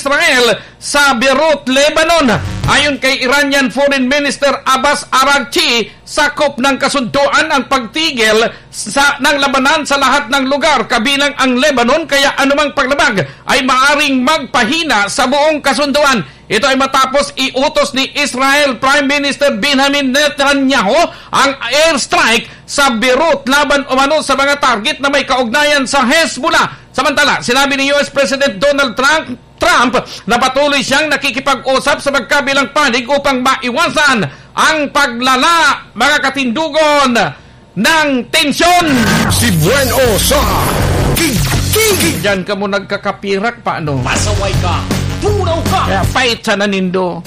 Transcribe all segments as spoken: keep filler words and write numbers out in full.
Israel sa Beirut, Lebanon. Ayon kay Iranian Foreign Minister Abbas Araghchi, sakop ng kasunduan ang pagtigil sa, ng labanan sa lahat ng lugar, kabilang ang Lebanon, kaya anumang paglabag ay maaring magpahina sa buong kasunduan. Ito ay matapos iutos ni Israel Prime Minister Benjamin Netanyahu ang airstrike sa Beirut laban umano sa mga target na may kaugnayan sa Hezbollah. Samantala, sinabi ni U S President Donald Trump, Trump na patuloy siyang nakikipag-usap sa magkabilang panig upang maiwasan ang paglala, mga katindugon, ng tensyon. Si Buen O sa Gigigig. Diyan ka mo nagkakapirak, paano? Pasaway ka! Tunaw ka! Kaya pait sana nindo.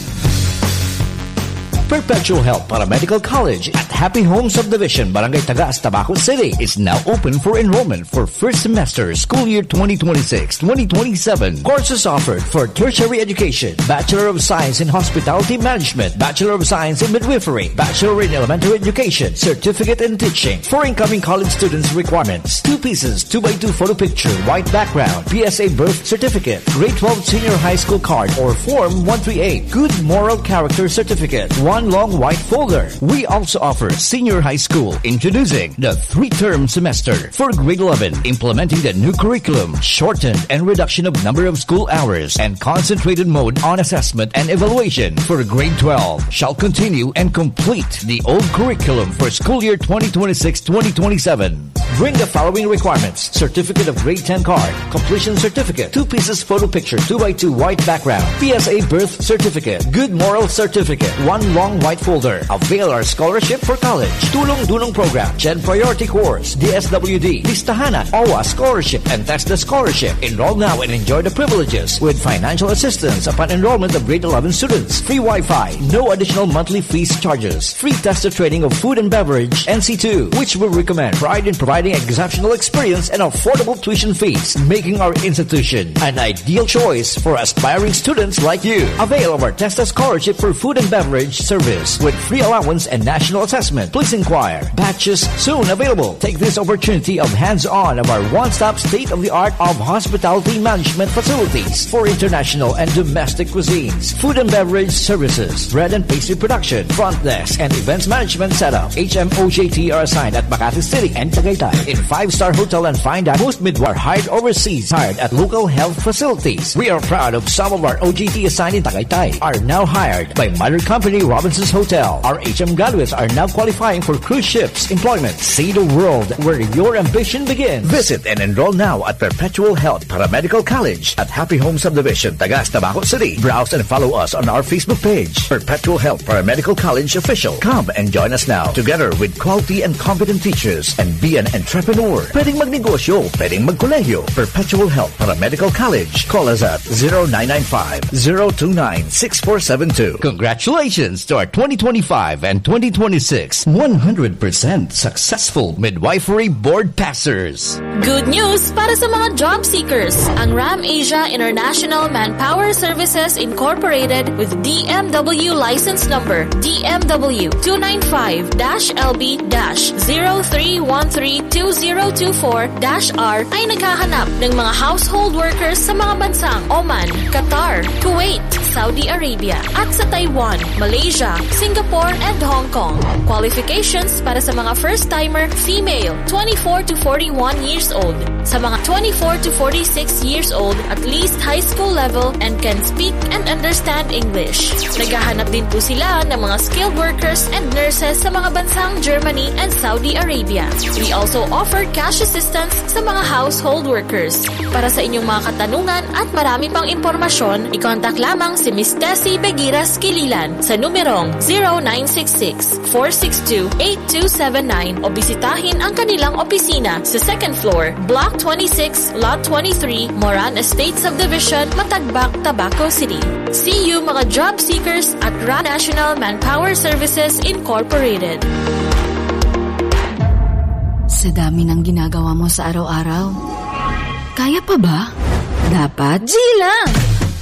Perpetual Health Paramedical College at Happy Home Subdivision, Barangay Tagas, Tabaco City is now open for enrollment for first semester school year twenty twenty-six, twenty twenty-seven. Courses offered for tertiary education: Bachelor of Science in Hospitality Management, Bachelor of Science in Midwifery, Bachelor in Elementary Education, Certificate in Teaching. For incoming college students requirements: two pieces, two by two photo picture, white background, P S A birth certificate, grade twelve senior high school card or form one three eight, good moral character certificate, one long white folder. We also offer senior high school, introducing the three-term semester for grade eleven, implementing the new curriculum, shortened and reduction of number of school hours, and concentrated mode on assessment and evaluation for grade twelve shall continue and complete the old curriculum for school year twenty twenty-six, twenty twenty-seven. Bring the following requirements: certificate of grade ten card, completion certificate, two pieces photo picture, two by two white background, P S A birth certificate, good moral certificate, one long white folder. Avail our scholarship for college, Tulong Dunong Program, Gen Priority Course, D S W D, Listahanan, O W A Scholarship, and TESDA Scholarship. Enroll now and enjoy the privileges with financial assistance upon enrollment of grade eleven students. Free Wi-Fi, no additional monthly fees charges. Free tester training of food and beverage, N C two, which we recommend. Pride in providing exceptional experience and affordable tuition fees, making our institution an ideal choice for aspiring students like you. Avail of our TESDA scholarship for food and beverage service with free allowance and national assessment. Please inquire. Batches soon available. Take this opportunity of hands-on of our one-stop state-of-the-art of hospitality management facilities for international and domestic cuisines, food and beverage services, bread and pastry production, front desk, and events management setup. H M O J T are assigned at Makati City and Tagaytay in five-star hotel and fine dining. Most midwives are hired overseas, hired at local health facilities. We are proud of some of our O J T assigned in Tagaytay are now hired by mother company Robinson's Hotel. Our H M graduates are now qualifying for cruise ships employment. See the world where your ambition begins. Visit and enroll now at Perpetual Health Paramedical College at Happy Home Subdivision, Tagas, Tabaco City. Browse and follow us on our Facebook page, Perpetual Health Paramedical College Official. Come and join us now, together with quality and competent teachers, and be an entrepreneur. Pwedeng magnegosyo, pwedeng magkolehiyo. Perpetual Health Paramedical College. Call us at zero nine nine five, zero two nine, six four seven two. Congratulations to our twenty twenty-five and twenty twenty-six one hundred percent successful midwifery board passers. Good news para sa mga job seekers! Ang Ram Asia International Manpower Services Incorporated with D M W license number D M W two nine five dash L B dash zero three one three two zero two four dash R ay naghahanap ng mga household workers sa mga bansang Oman, Qatar, Kuwait, Saudi Arabia, at sa Taiwan, Malaysia, Singapore, and Hong Kong. Qualifications para sa mga first-timer, female, twenty-four to forty-one years old. Sa mga twenty-four to forty-six years old, at least high school level and can speak and understand English. Naghahanap din po sila ng mga skilled workers and nurses sa mga bansang Germany and Saudi Arabia. We also offer cash assistance sa mga household workers. Para sa inyong mga katanungan at marami pang impormasyon, i-contact lamang si Miss Tessie Begiras Kililan sa numerong zero nine six six, four six two, eight two seven nine o bisitahin ang kanilang opisina sa second floor, Block twenty-six, Lot twenty-three, Moran Estate Subdivision, Matagbak, Tabaco City. See you, mga job seekers, at Ram National Manpower Services Incorporated. Sa dami ng ginagawa mo sa araw-araw, kaya pa ba? Dapat G lang!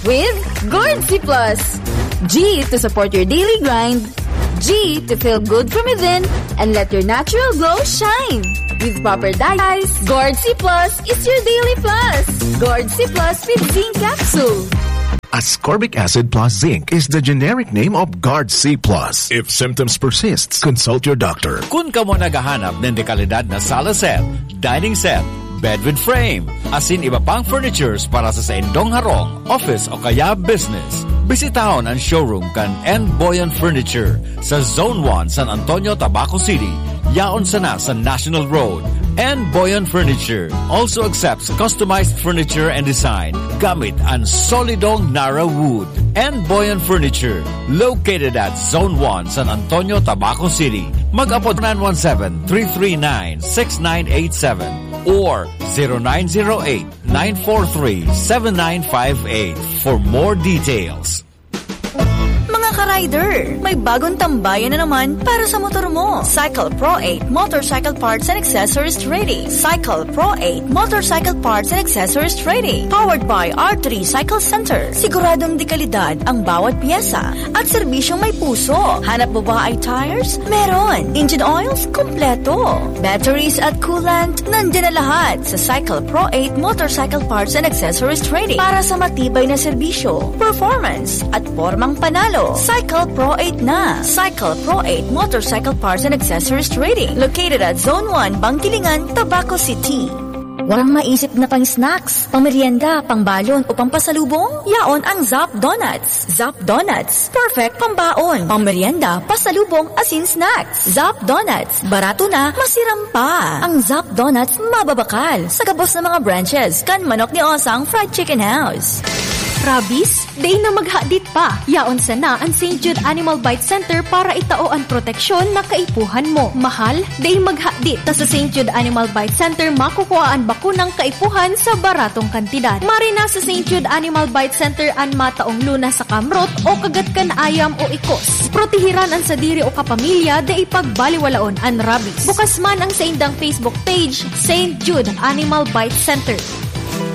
With Gourd C Plus. G to support your daily grind. G to feel good from within and let your natural glow shine. With proper diet, Gourd C Plus is your daily plus. Gourd C Plus with zinc capsule. Ascorbic acid plus zinc is the generic name of Guard C plus. If symptoms persist, consult your doctor. Kun kamo naghahanap nin dekalidad na sala set, dining set, bed with frame, asin iba pang furnitures para sa saindong harong, office o kaya business, bisitahon an showroom kan N Boyan Furniture sa Zone one, San Antonio, Tabaco City. Yaon sana sa National Road. N Boyan Furniture also accepts customized furniture and design gamit an solidong Nara Wood. N Boyan Furniture, located at Zone one, San Antonio, Tabaco City. Mag-apod nine one seven, three three nine, six nine eight seven or zero nine zero eight, nine four three, seven nine five eight for more details. Mga ka-rider, may bagong tambayan na naman para sa motor mo. Cycle Pro eight Motorcycle Parts and Accessories Trading. Cycle Pro eight Motorcycle Parts and Accessories Trading. Powered by R three Cycle Center. Siguradong dekalidad ang bawat pyesa at serbisyong may puso. Hanap mo ba ay tires? Meron. Engine oils? Kompleto. Batteries at coolant? Nandiyan na lahat sa Cycle Pro eight Motorcycle Parts and Accessories Trading para sa matibay na serbisyo, performance, at pormang panalo. Cycle Pro eight na. Cycle Pro eight Motorcycle Parts and Accessories Trading, located at Zone one, Bangkilingan, Tabaco City. Walang maisip na pang-snacks, pang-merienda, pang-balon o pang-pasalubong? Yaon ang Zap Donuts. Zap Donuts, perfect pambaon, pang-merienda, pasalubong, asin snacks. Zap Donuts, barato na, masiram pa. Ang Zap Donuts mababakal sa gabos na mga branches kan Manok ni Osang Fried Chicken House. Rabies? Dai na maghadit pa. Yaon sana an Saint Jude Animal Bite Center para itao an proteksyon na kaipuhan mo. Mahal? Dai maghadit, ta sa Saint Jude Animal Bite Center makukua an bakunang kaipuhan sa baratong kantidad. Maray na sa Saint Jude Animal Bite Center an mataong luna sa kamrot o kagat kan ayam o ikos. Protehiran an sadiri o kapamilya, dai pagbaliwalaon an rabies. Bukas man ang saindang Facebook page, Saint Jude Animal Bite Center.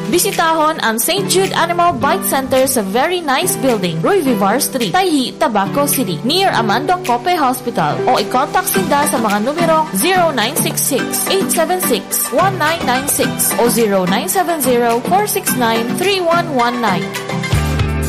Bisitahon ang Saint Jude Animal Bite Center sa Very Nice Building, Roy Vivar Street, Taiji, Tabaco City, near Amando Cope Hospital, o i-contact sinda sa mga numerong zero nine six six, eight seven six, one nine nine six o zero nine seven zero, four six nine, three one one nine.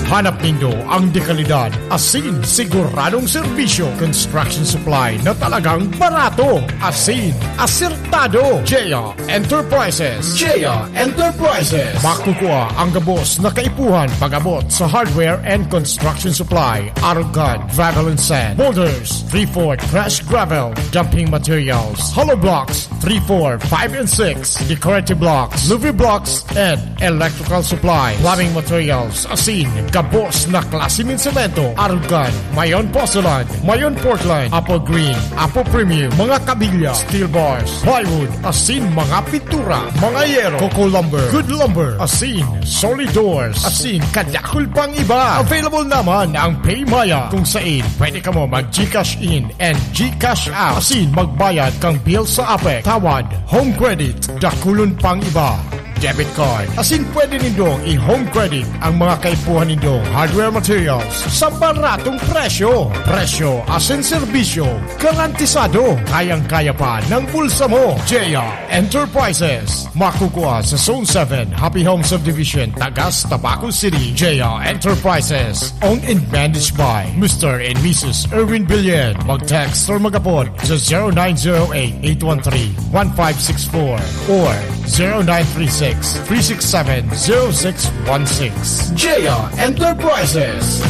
Hanap nindo ang dekalidad, asin siguradong serbisyo, construction supply na talagang barato, asin asertado. J R Enterprises. J R Enterprises. Makukua ang gabos na kaipuhan pag-abot sa hardware and construction supply, arog kan gravel and sand, boulders, three-fourth crushed gravel, dumping materials, hollow blocks, three, four, five, and six, decorative blocks, louver blocks, and electrical supply, plumbing materials, asin gabos na klase nin semento, arog kan mayon porcelain, mayon Portland, apple green, apple premium, mga kabilya, steel bars, plywood, asin mga pintura, mga yero, coco lumber, good lumber, asin solid doors, asin kadakul pang iba. Available naman ang PayMaya, kung sain pwede kamo mag-GCash in and GCash out, asin magbayad kan bill sa APEC, tawad, home credit, dakulon pang iba, debit card. Asin pwede nindong i-home credit ang mga kaipuhan nindong hardware materials sa baratong presyo. Presyo asin serbisyo garantisado. Kayang-kaya pa ng bulsa mo. J R Enterprises. Makukua sa Zone seven, Happy Home Subdivision, Tagas, Tabaco City. J R Enterprises. Owned and managed by Mister and Missus Erwin Billen. Mag-text or mag-apod sa zero nine zero eight, eight one three, one five six four or zero nine three six, three six seven, zero six one six. J R Enterprises.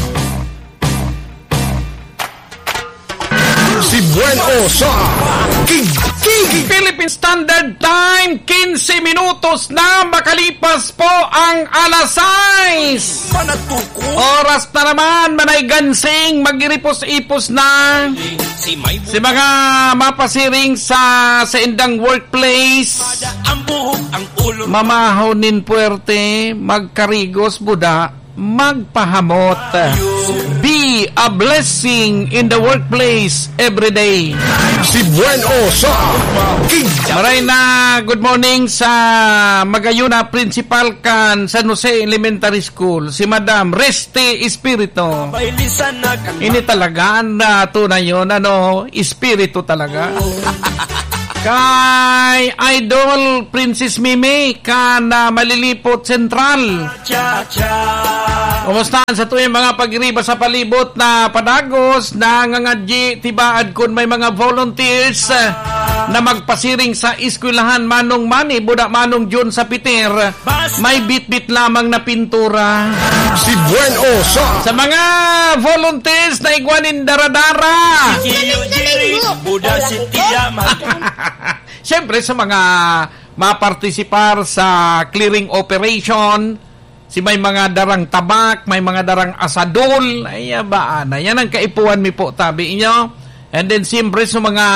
Si Buen O sa King, King. Philippine Standard Time, quince minutos na makalipas po ang alas sais. Oras na naman, Manay Gansing, mag-iripos-ipos na si mga mapasiring sa saindang workplace. Mamahaw nin puwerte, magkarigos, buda, magpahamot. Be a blessing in the workplace every day. Si Buen O sa King. Maray na good morning sa magayuna principal kan San Jose Elementary School, si Madam Reste Espiritu. Ini talaga ang, ah, tunay yon, ano, espiritu talaga. Kay Idol Princess Mimi kan, ah, Malilipot Central. Kumusta an satuyang mga pag-iriba sa palibot na padagos, nangangadyi, tibaad kun may mga volunteers, ah, na magpasiring sa eskwelahan, Manong Manny, buda Manong Jun sa Peter, may bitbit lamang na pintura. Si Buen Osa. Sa mga volunteers na igwa nin dara-dara. Siyempre, sa mga mapartisipar sa clearing operation, si may mga darang tabak, may mga darang asadol, ay, abaan na. Yan ang kaipuhan mi po, tabi inyo. And then, siyempre, sa mga,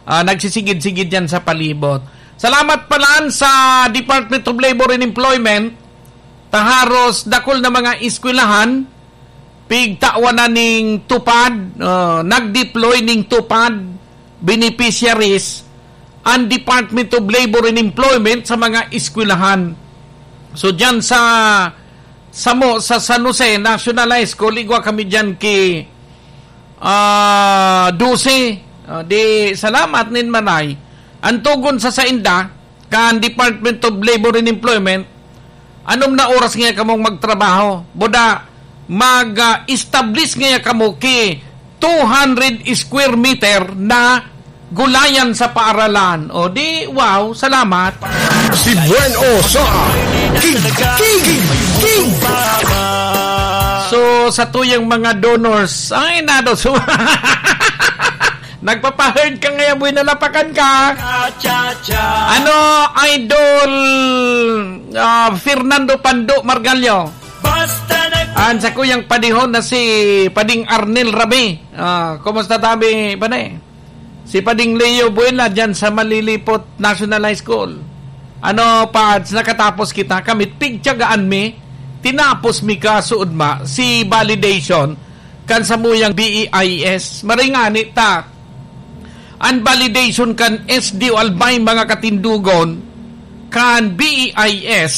ah, nagsisigid-sigid yan sa palibot. Salamat palan sa Department of Labor and Employment, taharos dakul na mga eskwelahan, pigtawan na ning TUPAD, ah, nag-deploy ning TUPAD beneficiaries ang Department of Labor and Employment sa mga eskwelahan. So, dyan sa, samo, sa San Jose National High School, igwa kami dyan ki, ah, dose. Ah, di, salamat nin manay. Ang tugon sa sainda, kan Department of Labor and Employment, anom na oras ngaya kamong magtrabaho? Buda, mag, ah, establish ngaya kamo ki two hundred square meter na gulayan sa paaralan. O di, wow, salamat. Si Buen Osa, King, King, King. So, sa tuyang mga donors, ay, nado, so, nagpapa-heard ka ngayon, boy, nalapakan ka. Ano, Idol, ah, Fernando Pando Margallo? An sakuyang padihon na si Pading Arnel Rabi. Ah, kumusta tabi, pane? Si Pading Leo Buela dyan sa Malilipot National High School. Ano, Pads, nakatapos kita. Kami, pigtiyagaan mi, tinapos mi ka, suod ma, si validation kan samuyang B E I S. Maringani ta, an validation kan S D O Albay, mga katindugon, kan B E I S,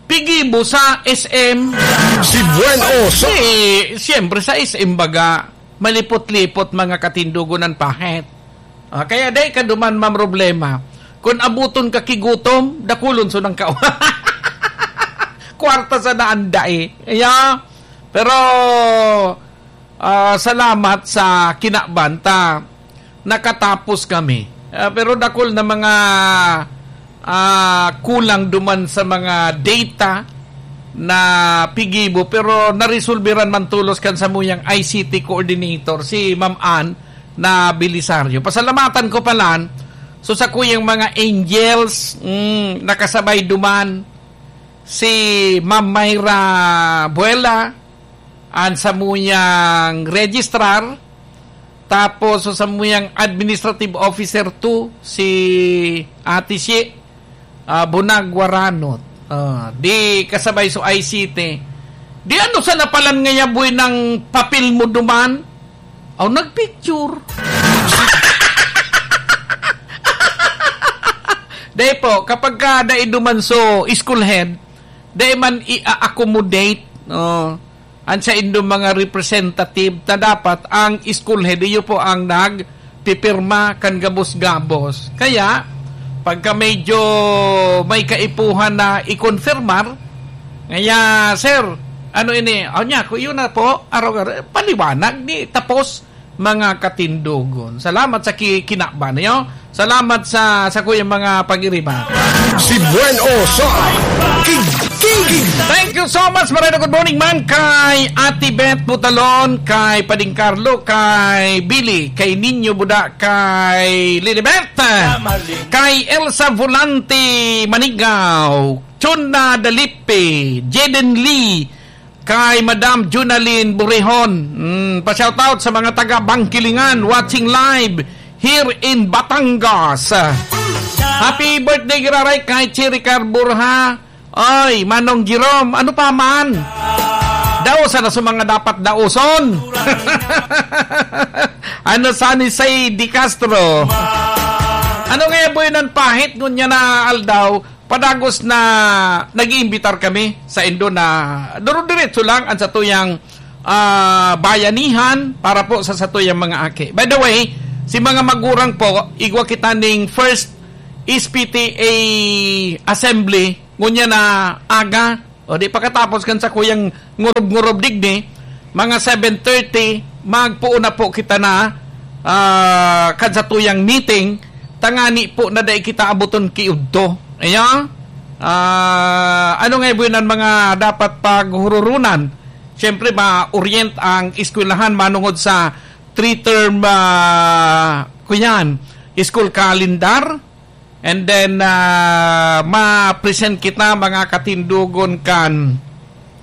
pigibo sa S M. Si Buen Osa. Eh, siyempre, sa S M baga, malipot-lipot, mga katindugon, an pahit. Ah, kaya dai ka duman mamroblema. Kun abuton ka ki gutom, dakulon so nang ka-, kwarta sana an dai. Yeah. Pero, ah, salamat sa kinaban ta, nakatapos kami. Ah, pero dakul na mga, ah, kulang duman sa mga data na pigibo, pero naresolbiran man tolos kan samuyang I C T coordinator, si Ma'am Ann na Belisario. Pasalamatan ko palan, so, sakuyang mga angels, mm, nakasabay duman, si Ma'am Myra Buela, an samuyang registrar, tapos so samuyang administrative officer two, si Ate Shi, ah, Bunag Waranot. Ah, di kasabay so I C T. Di ano sa napalan nga yaboy ng papel mo duman? Aw, nagpicture. Dai po, kapag ka dai duman so school head, dai man i-accommodate, no, an saindong mga representative na dapat ang school head, iyo po ang nagpipirma kan gabos-gabos. Kaya, pagka medyo may kaipuhan na ikonfirmar, ngaya, "Sir, ano ini?" "O niya, kung yun na po, araw-araw, paliwanag ni tapos." Mga katindogon. Salamat sa ki-, kinaban, yo. Salamat sa, sa kuyang mga pag-iriba. Si Buen Osa, King, King. Thank you so much, Marino. Good morning man kay Ate Beth Butalon, kay Pading Carlo, kay Billy, kay Ninyo Buda, kay Lilibet, kay Elsa Volante Manigaw, Chona Dalipe, Jaden Lee, kay Madam Junalyn Burihon. Mm, pa-shoutout sa mga taga Bangkilingan, watching live here in Batangas. Happy birthday, giraray, kay Chiricar Burha. Oy, Manong Jerome, ano pa man? Daosan na sa mga dapat daoson. Ano, Sunny Say De Castro? Ano nga, boy, nan pahit ngunyan na aldaw? Padagos na nag-iimbitar kami sa indo na duro-diretso lang ang satuyang, ah, bayanihan para po sa satuyang mga aki. By the way, si mga magurang po, igwa kita ning first S P T A assembly, ngunya na aga, O di, pakatapos kan sakuyang ngurob-ngurob digdi, mga seven thirty, magpoon na po kita na, ah, kan satuyang meeting, tangani po na dai kita abuton ki udto. Ayan. Ah, ano nga ibuin ang mga dapat paghururunan? Siyempre, ma-orient ang eskwelahan manungod sa three-term, ah, kuyan, school calendar. And then, ah, ma-present kita, mga katindogon, kan,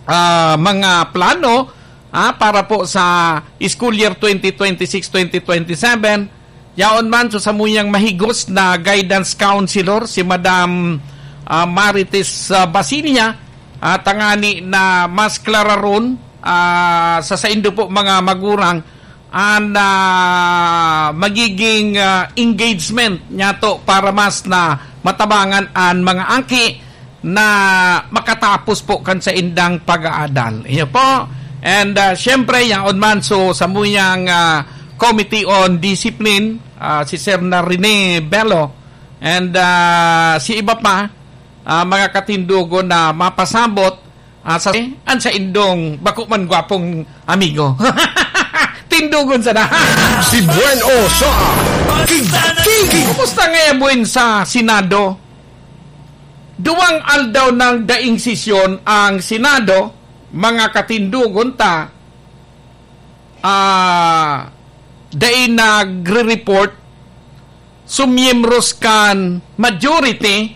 ah, mga plano, ah, para po sa school year twenty twenty-six, twenty twenty-seven. Yaon man, so, samuyang mahigos na guidance counselor, si Madam, ah, Marites, ah, Basilia, ah, tangani na mas klararon, ah, sa saindo po, mga magurang, an, ah, magiging, ah, engagement niyato para mas na matabangan an mga aki na makatapos po kan saindang pag-aadal. Iyo po. And, ah, siyempre, yaon man, so, samuyang, ah, Committee on Discipline, ah, si Sir na Rene Bello, and, ah, si iba pa, ah, mga katindogon na mapasabot, ah, sa, an saindong bako man gwapong amigo. Tindogon sana. Si Buen O sa Kiki. Kumusta ngayon, Buen, sa Senado? Duwang aldaw nang daing sesyon ang Senado, mga katindogon ta, ah, dai nagre-report so miyembros kan majority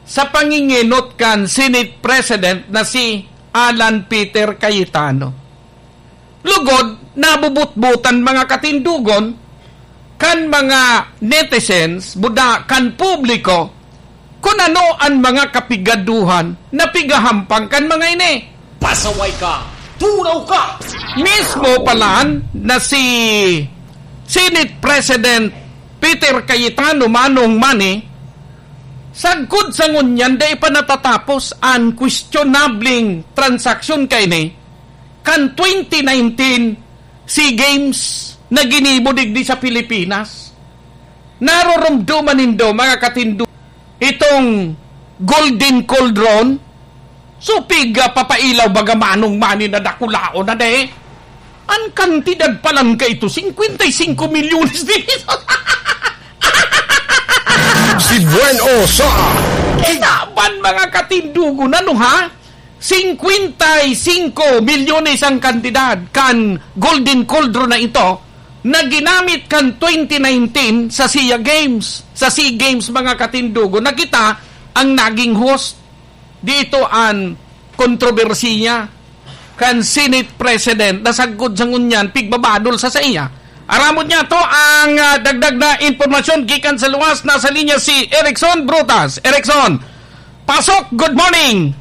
sa pangingenot kan Senate President na si Alan Peter Cayetano. Lugod, nabubutbutan mga katindogon kan mga netizens, buda kan publiko, kun ano an mga kapigaduhan na pigahampang kan mga ini. Pasaway ka! Tunaw ka! Mismo palan na si Senate President Peter Cayetano, Manong Manny, sagkod sa ngunyan, dai pa natatapos an questionabling transaksyon kaini kan twenty nineteen SEA Games na ginibo digdi sa Pilipinas. Naroromdoman nindo, mga katindo, itong Golden Cauldron? So, piga papailaw baga, Manong Manny, na dakulaon na de. An kantidad palan kaito, cincuenta y cinco milyones de pesos. Si Buen O sa Kinaban, mga katindogon, ano ha? Cincuenta y cinco milyones ang kantidad kan Golden Cauldron na ito na ginamit kan twenty nineteen sa SEA Games. Sa SEA Games, mga katindogon, na kita ang naging host. Dito an kontrobersiya kan Senate President na sagkod sa ngunyan pigbabadol sa saiya. Aramon niyato ang, ah, dagdag na impormasyon gikan sa luwas. Nasa linya si Erickson Brutas. Erickson, pasok, good morning!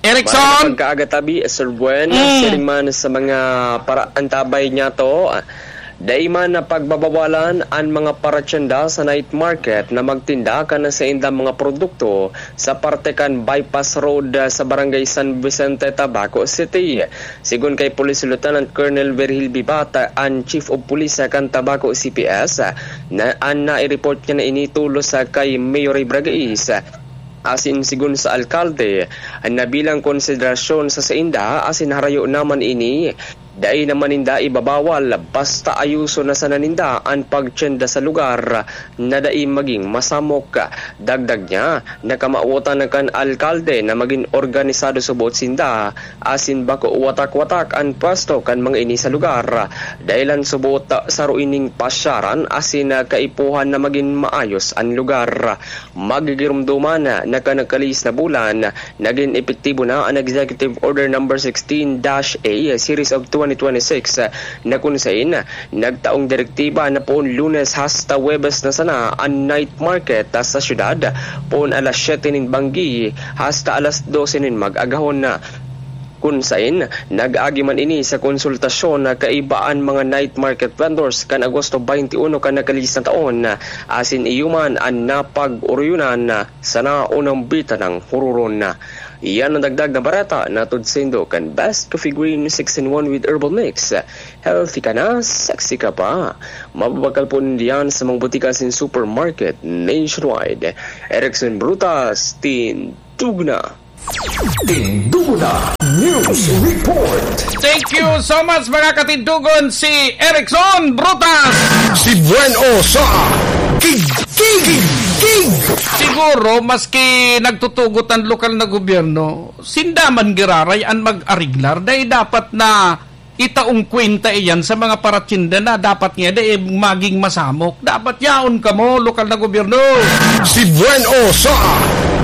Erickson? Maayong pagkaaga tabi, Sir Buen. Mm. Siring man sa mga paraantabay niyato, dai man na pagbabawalan an mga paratyenda sa night market na magtinda kan saindang mga produkto sa parte kan Bypass Road, ah, sa Barangay San Vicente, Tabaco City. Sigon kay Police Lieutenant Colonel Virgil Bibata, an Chief of Police kan Tabaco C P S, na an nai-report niya na ini tolos, ah, kay Mayor Ray Bragais. Asin sigon sa alkalde, na bilang konsiderasyon sa sainda, asin harayo naman ini, dai naman ninda ibabawal, basta ayuson na sana ninda an pagtienda sa lugar na dai maging masamok. Dagdag niya, nakamawotan na kan alkalde na magin organisado subot sinda, asin bako watak-watak an pwesto kan mga ini sa lugar. Dahelan subot saro ining pasyaran asin kaipuhan na magin maayos an lugar. Magigiromdoman na kan nakalihis na bulan, nagin epektibo na an Executive Order Number sixteen dash A Series of twenty twenty-six, na kun sain nagtaong direktiba na poon Lunes hasta Huwebes na sana an night market sa syudad, poon alas siyete nin banggi hasta alas dose nin mag-agahon. Kun sain, nag-agi man ini sa konsultasyon na kaiba an mga night market vendors kan Agosto twenty-one kan nakalihis na taon, asin iyo man an napag-oryonan sa naunang bitanang huroron. Iyan an dagdag na bareta na hatod saindo kan Best Coffee Green six-in-one with Herbal Mix. Healthy ka na, sexy ka pa. Mababakal po nindiyan sa mga botika asin supermarket nationwide. Erickson Brutas, Tindog na! Tindona News Report. Thank you so much, mga katindogon, si Erickson Brutas. Si Buen O sa Kig, Kig, Kig. Siguro, maski nagtutugot ang lokal na gobyerno, sinda man giraray an mag-ariglar, dahil dapat na itaong kwenta iyan sa mga paratsinda na dapat nga dai maging masamok. Dapat yaon kamo, lokal na gobyerno. Si Buen O sa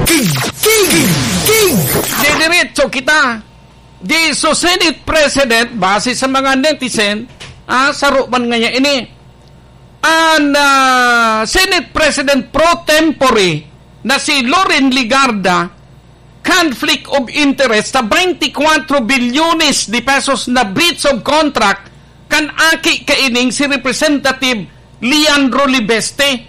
Kig, Kig, Kig. Didiretso kita. Di so Senate President, base sa mga netizen, ah, saro man ngaya ini. An, ah, Senate President pro tempore na si Loren Legarda, conflict of interest sa twenty-four bilyones de pesos na breach of contract kan aki kaining si Representative Leandro Libeste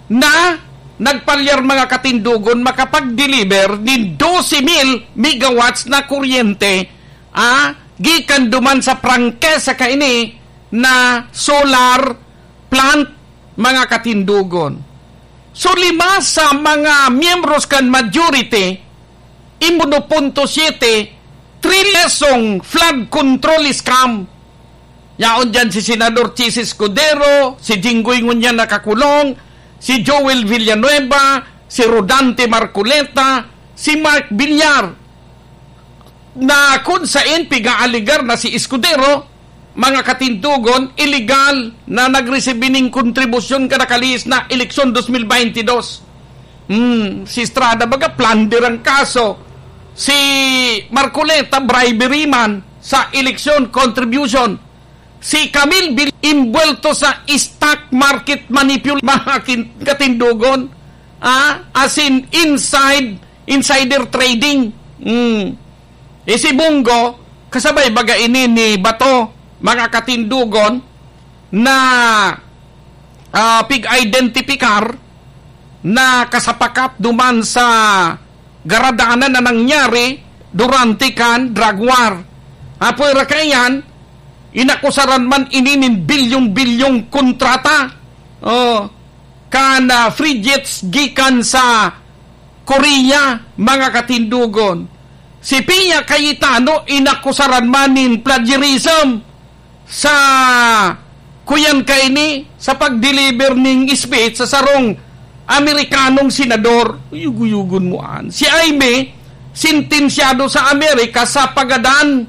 na nagpalyar, mga katindogon, makapag-deliver nin dose mil megawatts na kuryente, ah, gikan duman sa prangkesa kaini na solar plant, mga katindogon. So, lima sa mga miyembros kan majority, in uno punto siete trilesong flood control scam. Yaon diyan si Senador Chiz Escudero, si Jinggoy ngunyan nakakulong, si Joel Villanueva, si Rodante Marcoleta, si Mark Villar, na kun sain pig-aaligar na si Escudero, mga katindogon, iligal na nagresibi nin kontribusyon kan nakalihis na eleksyon dos mil baynte dos. Hmm, si Estrada baga plunder ang kaso. Si Marcoleta, bribery man sa eleksyon, contribution. Si Camille Bil-, imbuwelto sa stock market manipul-, mga kin-, katindogon. Ah, as in inside, insider trading. Hmm. Eh, si Bong Go, kasabay baga ini ni Bato, mga katindogon, na, ah, pig-identipikar na kasapakat duman sa garadanan na nangyari durante kan drug war. Apwera kaiyan, inakusaran man ini nin bilyong-bilyong kontrata. Oh, kan, ah, free jets gikan sa Korea, mga katindogon. Si Pia Cayetano inakusaran man nin plagiarism sa kuyan kaini sa pag-deliver ning speech sa sarong Amerikanong senador. Uyog-uyogon mo an. Si Jaime, sentensyado sa Amerika sa pagadan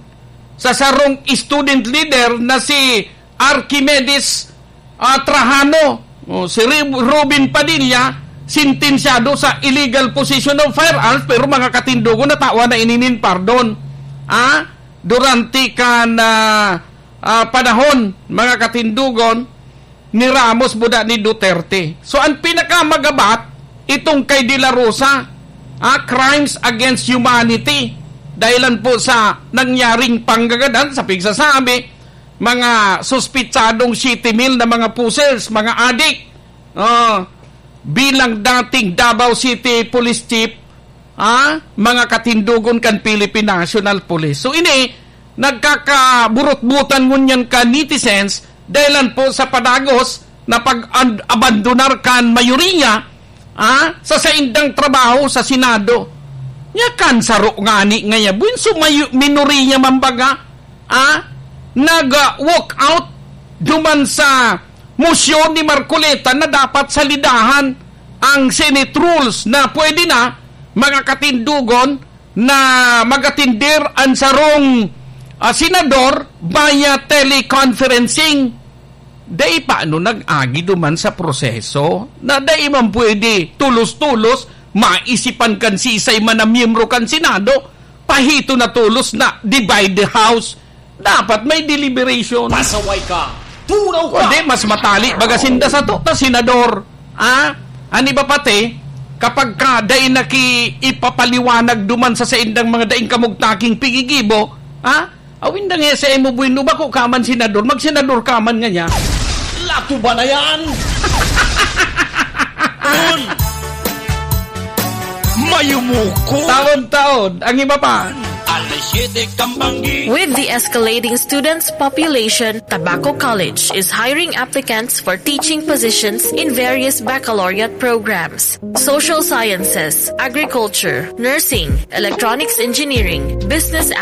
sa sarong student leader na si Archimedes, ah, Trajano. O, si Ri-, Robin Padilla, sentensyado sa illegal possession of firearms, pero mga katindogon, natawan na ini nin pardon. Ah, durante kan, ah, ah, panahon, mga katindogon, ni Ramos buda ni Duterte. So, ang pinakamagabat, itong kay De La Rosa, ah, crimes against humanity. Dahilan po sa nangyaring panggagadan, sa pigsasabi, mga suspitsadong siete mil na mga pusers, mga adik. Oh, bilang dating Davao City Police Chief, ah, mga katindogon kan Philippine National Police. So, ini, nagkakaburot-butan ngunyan kan netizens dahilan po sa padagos na pag-abandonar kan mayoriya, ah, sa saindang trabaho sa Senado. Nya kan saro ngani ngaya, buin so mayo-, minoriya man baga, ah, nag, ah, walk out duman sa mosyon ni Marcoleta na dapat salidahan ang Senate rules na pwede na, mga katindogon, na mag-atender ang sarong, ah, senador via teleconferencing. Dai pa ano nag-agi duman sa proseso na dai man pwede tulos-tulos maisipan kan sisay man na miyembro kan Senado, pahito na tulos na divide the House. Dapat may deliberation. Pasaway ka! Turaw ka! Kundi mas matali baga sinda sato ta senador. Ah? An iba pati, kapag ka dai na ki ipapaliwanag duman sa saindang mga daing kamugtaking pigigibo, ah? Awin da nga sa imo, bueno, bako ka man senador, magsenador ka man ngaya. Lato ba na yan? Mayumuko. Taon-taon, ang iba pa. Alis With the escalating students population, Tabaco College is hiring applicants for teaching positions in various baccalaureate programs: social sciences, agriculture, nursing, electronics engineering, business